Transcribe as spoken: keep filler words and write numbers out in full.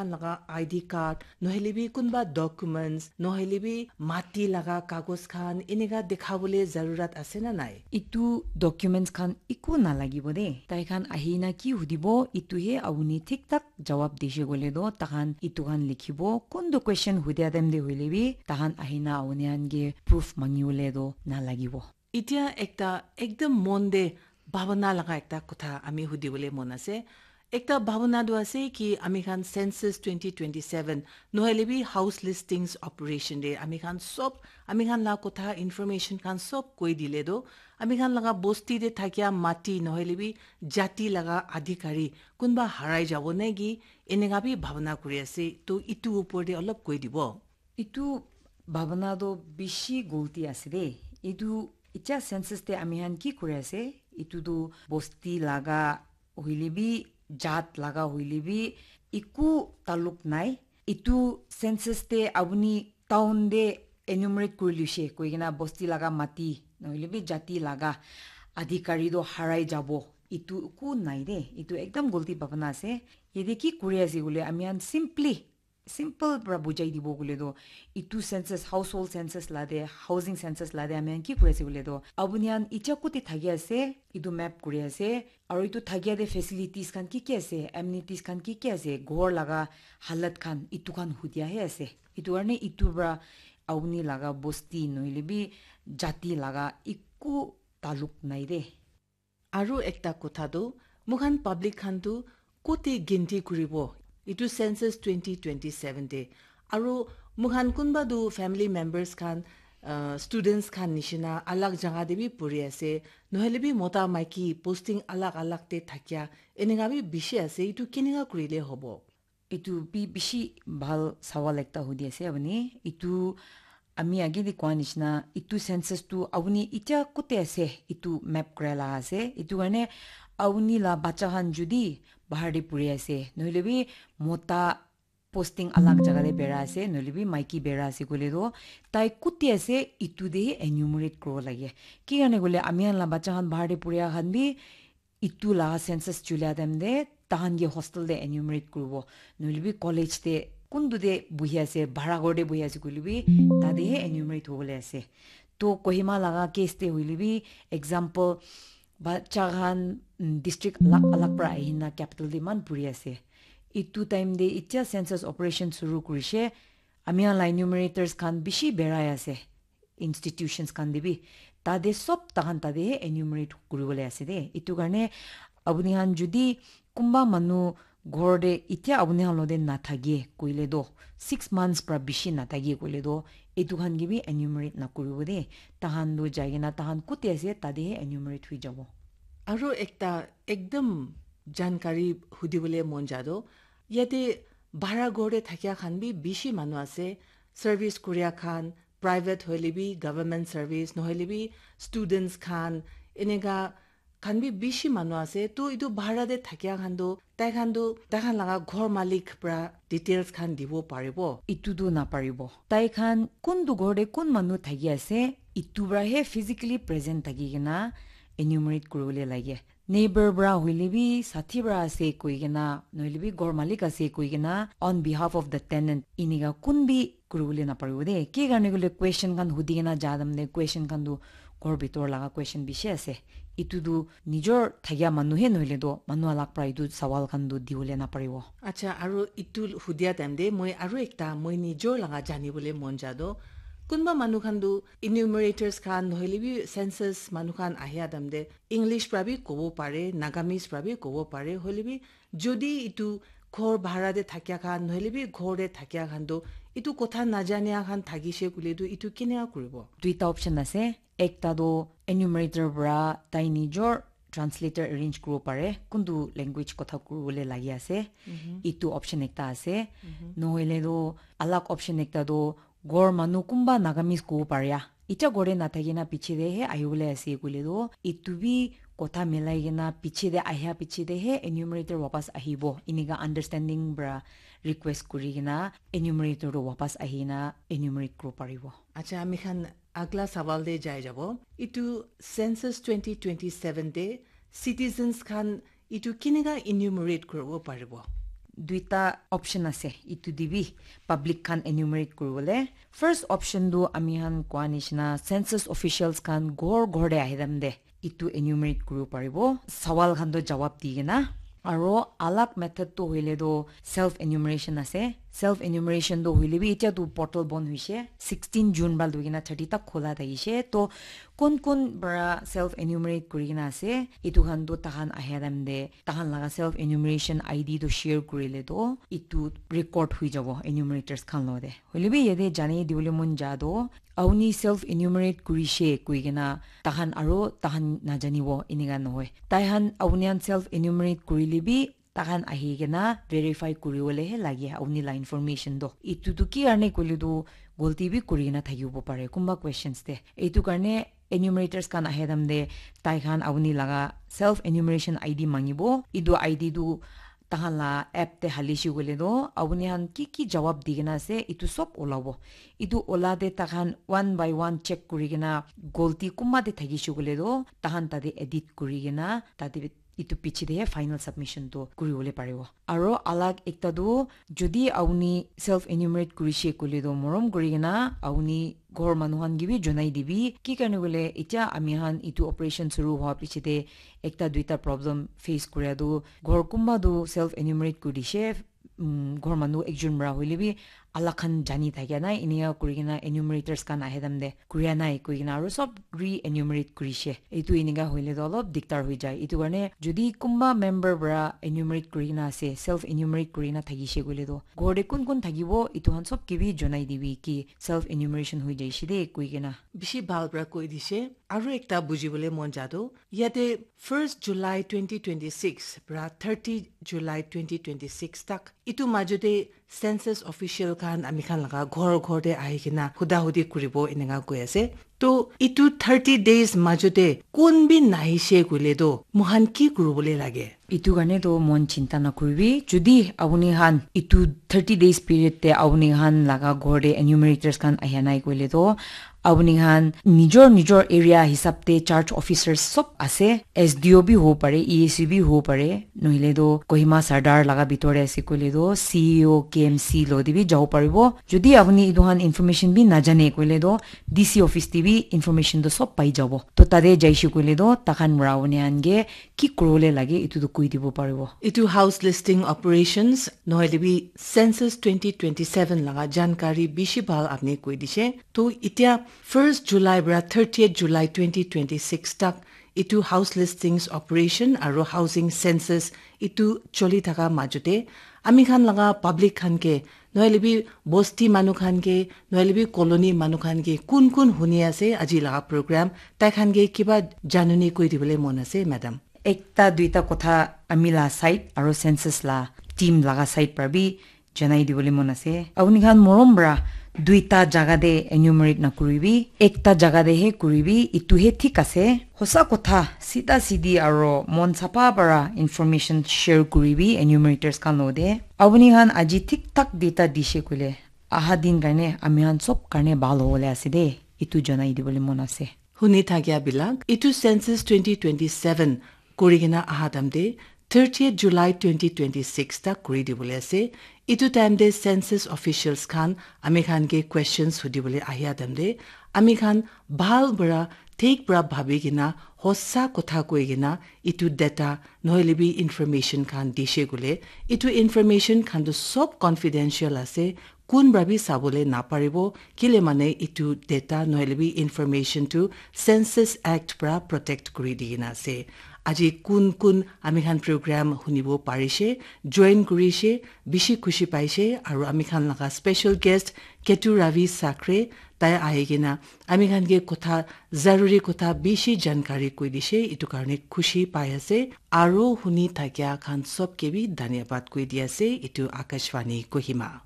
laga I D card, nohele bi kunba documents, nohele bi mati laga kagos khan, eneka dekhabole zarurat ase na nai? Itu documents khan iku nalagibo de. Tai khan ahina ki hudibo, itu he apuni thik thak jawab dishe koile toh, takhan itu khan likhibo. Kuntu question hudia time te hoile bi, takhan ahina apuni khan ke proof mangi bole toh nalagibo. Itia ekta ekdam mon te bhabana laga ekta kotha ami hudibole mon ase. Ekta bhabana tu ase ki ami khan census twenty twenty-seven nohele bi house listings operation te ami khan sob, ami khan la kotha information khan sob koi dile toh, ami khan laga bosti te thakia mati nohele bi jati laga adhikari kunba harai jabo naki, eneka bi bhabana kuri ase. To itu upor te olop koi dibo. Itu bhabana toh bishi golti ase de. Itu itia census te ami khan ki kuri ase? Itu tu bosti laga hoile bi, jat laga hoile bi, iku taluk nai. Itu census te apuni town te enumerate kuri luishe koi kena bosti laga mati, nohile bi jati laga adhikari toh harai jabo. Itu iku nai de. Itu ekdam golti bhabana ase. Yate ki kuri ase koile ami khan simply simple pra bujai dibo koile toh, itu census, household census la de, housing census la de, ami khan ki kuri ase koile toh, apuni khan itia kuti thaki ase, itu map kuri ase, aru itu thakia de facilities khan ki ki ase, amenities khan ki ki ase, ghor laga halat khan, itu khan hudia he ase. Itu karne itu pra apuni laga bosti nohile bi jati laga iku taluk nai de. Aru ekta kotha tu, mukhan public khan tu kote ginti kuribo, itu census twenty twenty-seven te. Aru mukhan kunba tu family members khan, uh, students khan nishina alag jaga te bi puri ase, nohele bi mota maiki posting alag alag te thakia, eneka bi bishi ase, itu keneka kurile hobo? Itu bi bishi bhal sawal ekta hudi ase apuni. Itu ami age de koa nishina, itu census tu apuni itia kote ase, itu map kura la ase. Itu karne apuni la bacha khan judi bahar de puri ase, nohile bi mota posting alag jaga de bera ase, nohile bi maiki bera ase koile toh, tai kote ase, itu de enumerate kuribo lage. Ki karne koile ami khan la bacha khan bahar de puria khan bi itu laga census chulia time te tahan ke hostel te enumerate kuribo, nohile bi college te kuntu te buhi ase, bhara ghor te buhi ase koile bi, tate he enumerate hobole ase. To Kohima laga case te hoile bi, example, bacha khan, mm, district alag alag pra ahina capital te iman puri ase. Itu time te itia census operation suru kurishe, ami khan la enumerators khan bishi berai ase. Institutions khan te bi, tate sob takhan tate he enumerate kuribole ase de. Itu karne apuni khan judi kunba manu ghor te itia apuni khan lo te nathake koile toh, six months pra bishi nathake koile toh, itu khan ke bi enumerate nakuribo de. Takhan toh jai kena takhan kote ase tate he enumerate hui jabo. Aru ekta ekdam jankari hudibole mon ja toh, yate bhara ghor te thakia khan bi bishi manu ase, service kuria khan, private hoile bi, government service, nohole bi students khan, eneka khan bi bishi manu ase. To itu bhara te thakia khan tu, tai khan tu, tai khan laga ghor malik pra details khan dibo paribo? Itu tu naparibo. Tai khan kuntu ghor te kun manu thaki ase, itu pra he physically present thaki kena enumerate kuribole lage. Neighbor pra hoile bi, sathi pra ase koi kena, nohole bi ghor malik ase koi kena, on behalf of the tenant, inika kun bi kuribole naparibo de. Ki karne koile question khan hudi kena ja time te question khan tu ghor bitor laga question bishi ase. Itu tu nijor thakia manu he nohole toh manu alak pra itu sawal khan tu dibole naparibo. Acha, aru itu hudia time te moi aru ekta moi nijor laga janibole mon ja toh, kunba manu khan tu enumerators khan nohole bi census manu khan ahia time te English pra bi kobo pare, Nagamese pra bi kobo pare, hoile bi jodi itu ghor bhara te thakia khan, nohole bi ghor te thakia khan tu, itu kotha najania khan thakishe koile tu, itu keneka kuribo? Duita option ase. Ekta tu enumerator pra tai nijor translator arrange kuribo pare, kuntu language kotha kuribole lagi ase. Itu option ekta ase. Nohole tu alag option ekta tu ghor manu kunba Nagamese kobo paria, itia ghor te nathaki na piche te he ahibole ase koile toh, itu bi kotha milai kena piche te ahia piche te he enumerator wapas ahibo. Inika understanding pra request kuri kena enumerator toh wapas ahi na enumerate kuribo paribo. Acha, ami khan agla sawal te jai jabo. Itu census twenty twenty-seven te citizens khan itu keneka enumerate kuribo paribo? duita option ase, itu te bi public khan enumerate kuribole. First option tu ami khan koa nishina census officials khan ghor ghor te ahi time te itu enumerate kuribo paribo, sawal khan toh jawab di kena. Aro alag method toh hoile toh self enumeration ase. Self enumeration toh hoile bi itya toh portal bon hoishe, sixteen June pra loi kena thirty tak khola thakishe. Toh kun kun pra self enumerate kuri kena ase, itu khan toh tahan ahia time te tahan laga self enumeration I D toh share kurile toh itu record hui jabo enumerators khan lo te. Hoile bi yate jani dibole mon ja toh, auni self enumerate kurishe koi kena tahan aro tahan najanibo, enika nohoi. Tai khan auni khan self enumerate kurile bi tahan ahi kena verify kuribole he lage auni la information toh. Itu tu ki karne koile tu golti bi kuri kena thakibo pare kunba questions te. Itu karne enumerators khan ahe time te tai khan auni laga self enumeration I D mangibo. Itu I D tu tahan la app te halishi koile toh, apuni khan ki ki jawab di kena ase, itu sob olabo. Itu ola te tahan one by one check kuri kena, golti kunba te thakishi koile toh, tahan tate edit kuri kena, tate itu piche te he final submission toh kuri bole paribo. Aro alag ekta toh, jodi apuni self enumerate kurishe koile toh, morom kuri kena, apuni ghor manu khan ke bi jonai dibi, ki karne koile, itya ami khan itu operation shuru hwa piche te, ekta duita problem face kuria tu, ghor kunba tu self enumerate kuri dishe, um, ghor manu ekjon pra hoile bi alak khan jani thakia nai, enika kuri kena enumerators khan ahe time te kuria nai koi kena aro sob re-enumerate kurishe. Etu enika hoile tu olop diktar hoi jai. Etu karne jodi kunba member pra enumerate kuri kena ase, self enumerate kuri kena thakishe koile tu, ghor te kun kun thakibo, etu khan sob ke bi jonai dibi ki self enumeration hoi jaishe de koi kena. Bishi bhal pra koi dishe. Aro ekta bujibole mon ja tu, yate first July twenty twenty-six pra thirty July twenty twenty-six tak, itu majote census official khan ami khan laga ghor ghor te ahi kena huda hudi kuribo enika koi ase. To itu thirty days majote kun bi nahishe koile to mohan ki kuribole lage? Itu karne to mon chinta nakuribi. Jodi apuni khan itu thirty days period te apuni khan laga ghor te enumerators khan ahia nai koile to, apuni khan nijor nijor area hisab te charge officers sob ase, S D O bi hobo pare, E A C bi hobo pare, nohile to Kohima Sardar laga bitor te ase koile to C E O, K M C lo te bi jabo paribo. Jodi apuni etu khan information bi najane koile to D C office te bi information to sob pai jabo. To tate jaishe koile to takhan pra apuni khan ke ki kuribole lage, etu tu koi dibo paribo. Etu house listing operations nohoile bi census twenty twenty-seven laga jankari bishi bhal apni koi dishe. To itya first July pra thirtieth July twenty twenty-six tak etu house listings operation aro housing census etu choli thaka majote ami khan laga public khan ke, nohoile bi bosti manu khan ke, nohoile bi colony manu khan ke, kun kun huni ase aji laga program, tai khan ke kiba januni koi dibole mon ase, madam? Ekta duita kotha ami la side aro census la team laga side pra bi janai dibole mon ase. Apuni khan morom pra duita jaga te enumerate nakuribi, ekta jaga te he kuribi, itu he thik ase. Hosa kotha, sida sidi aro mon sapa para information share kuribi enumerators khan lo te. Apuni khan aji thik thak data dishe koile, aha din karne ami khan sob karne bhal hobole ase de, itu janai dibole mon ase. Huni thakia bilak, itu census twenty twenty-seven kuri kena aha time te thirtieth July twenty twenty-six tak kuri dibole ase. Itu time te census officials khan ami khan ke questions hudibole ahia time te ami khan bhal para thik para bhabi kena hosa kotha koi kena itu data nohoile bi information khan dishe koile, itu information khan tu sob confidential ase, kun para bi sabole naparibo, kile mane itu data nohoile bi information tu Census Act para protect kuri di kena ase. Aji kun kun ami khan program hunibo parishe, join kurishe, bishi khushi paishe, aru ami khan laga special guest Ketu Ravi Sakre, tai ahi kena ami khan ke kotha, zaruri kotha bishi jankari koi dishe, itu karne khushi pai ase, aru huni thakia khan sob ke bi dhanyabad koi di ase, itu Akashvani Kohima.